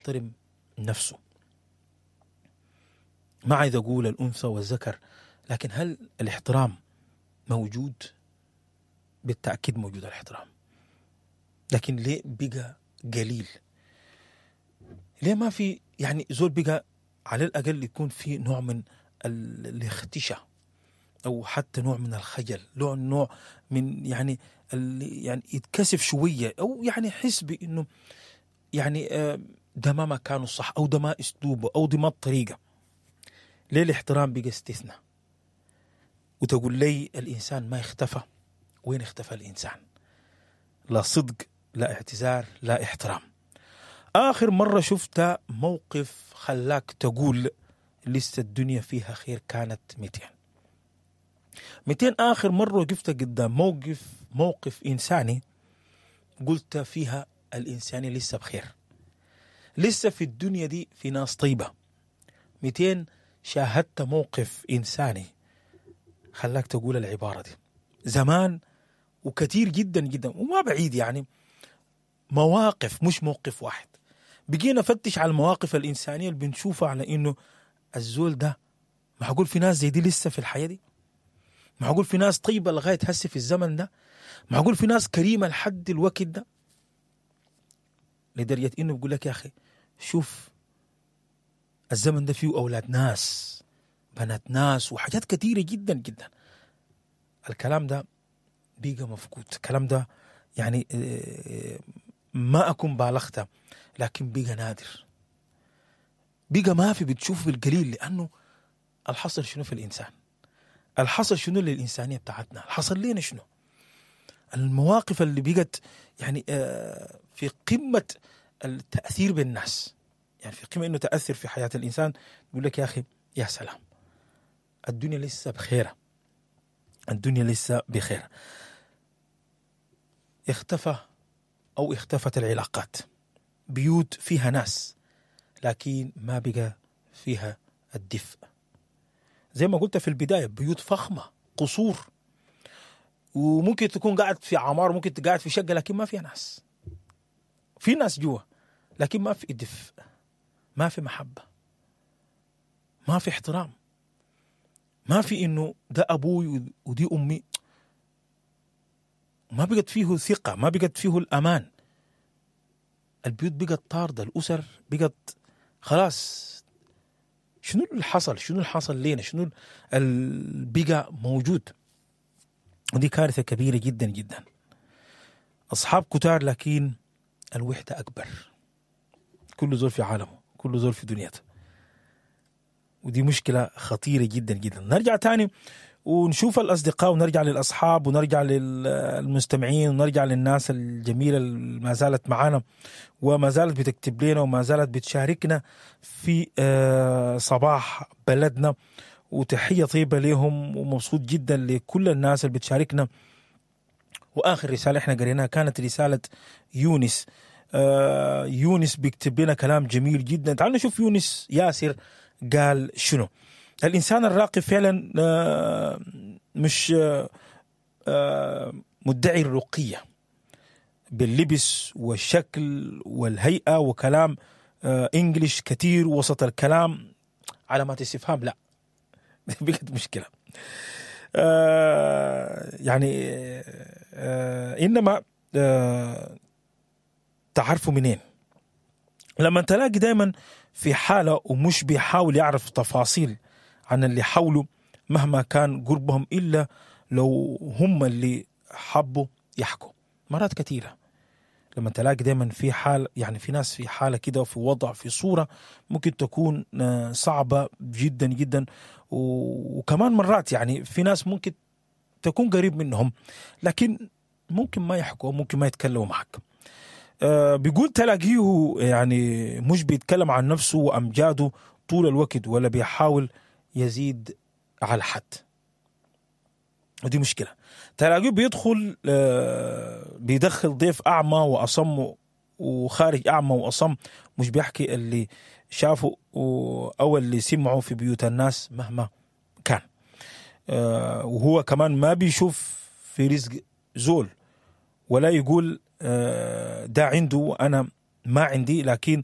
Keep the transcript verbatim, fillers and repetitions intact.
بيحترم نفسه. ما عايز اقول الانثى والذكر، لكن هل الاحترام موجود؟ بالتاكيد موجود الاحترام، لكن ليه بقى قليل؟ ليه ما في يعني زول بقى على الاقل يكون في نوع من الاختشاء، او حتى نوع من الخجل، نوع نوع من يعني يعني يتكسف شوية، او يعني يحس بانه يعني ده ما مكانه الصح، او ده ما اسلوبه، او دي ما الطريقة. ليه الاحترام بقى استثناء؟ وتقول لي الانسان ما اختفى. وين اختفى الانسان؟ لا صدق، لا اعتذار، لا احترام. اخر مرة شفت موقف خلاك تقول لسه الدنيا فيها خير كانت مئتين مئتين اخر مرة وقفت قدام موقف موقف انساني قلت فيها الانساني لسه بخير، لسه في الدنيا دي في ناس طيبة. مئتين شاهدت موقف انساني خلاك تقول العبارة دي زمان، وكثير جدا جدا وما بعيد، يعني مواقف مش موقف واحد. بقينا نفتش على المواقف الإنسانية اللي بنشوفها على إنه الزول ده معقول في ناس زي دي لسه في الحياة دي؟ معقول في ناس طيبة لغاية هسه في الزمن ده؟ معقول في ناس كريمة لحد الوقت ده؟ لدرجة إنه بيقول لك يا أخي شوف الزمن ده فيه أولاد ناس، بنات ناس، وحاجات كثيرة جدا جدا. الكلام ده بيجا مفقود، الكلام ده يعني ما أكون بالغته، لكن بيجا نادر، بيجا ما في، بتشوف بالقليل. لأنه الحصل شنو في الإنسان؟ الحصل شنو للإنسانية بتاعتنا؟ الحصل لينا شنو؟ المواقف اللي بقت يعني في قمة التأثير بالناس، يعني في قمة إنه تأثر في حياة الإنسان. يقول لك يا أخي يا سلام، الدنيا لسه بخيرة، الدنيا لسه بخير. اختفى أو اختفت العلاقات، بيوت فيها ناس لكن ما بقى فيها الدفء. زي ما قلت في البداية، بيوت فخمة، قصور، وممكن تكون قاعد في عمار، ممكن تقعد في شقة، لكن ما فيها ناس. في ناس جوا لكن ما في دفء، ما في محبة، ما في احترام، ما في إنه ده أبوي ودي أمي. ما بقت فيه ثقة، ما بقت فيه الأمان. البيوت بقت طاردة، الأسر بقت خلاص. شنو اللي حصل؟ شنو اللي حصل لينا؟ شنو اللي بقى موجود؟ ودي كارثة كبيرة جدا جدا. أصحاب كتار لكن الوحدة أكبر. كل زول في عالمه، كل زول في دنيته، ودي مشكلة خطيرة جدا جدا. نرجع تاني ونشوف الأصدقاء، ونرجع للأصحاب، ونرجع للمستمعين، ونرجع للناس الجميلة اللي ما زالت معانا وما زالت بتكتب لنا وما زالت بتشاركنا في صباح بلدنا. وتحية طيبة لهم، ومبسوط جدا لكل الناس اللي بتشاركنا. وآخر رسالة احنا قريناها كانت رسالة يونس. يونس بيكتب لنا كلام جميل جدا. تعالوا نشوف يونس ياسر قال شنو. الإنسان الراقي فعلا مش مدعي الرقية باللبس والشكل والهيئة وكلام إنجليش كتير وسط الكلام علامات استفهام. لا، بقت مشكلة. يعني إنما تعرفوا منين لما تلاقي دايما في حالة ومش بيحاول يعرف تفاصيل عن اللي حوله مهما كان قربهم، إلا لو هم اللي حبوا يحكوا. مرات كثيرة لما تلاقي دايما في حال، يعني في ناس في حالة كده وفي وضع في صورة ممكن تكون صعبة جدا جدا، وكمان مرات يعني في ناس ممكن تكون قريب منهم لكن ممكن ما يحكوا، ممكن ما يتكلموا معك. بيقول تلاقيه يعني مش بيتكلم عن نفسه وأمجاده طول الوقت، ولا بيحاول يزيد على حد، ودي مشكلة. تلاقيه بيدخل بيدخل ضيف أعمى وأصم وخارج أعمى وأصم، مش بيحكي اللي شافه أو اللي سمعه في بيوت الناس مهما كان. وهو كمان ما بيشوف في رزق زول، ولا يقول ده عنده وأنا ما عندي، لكن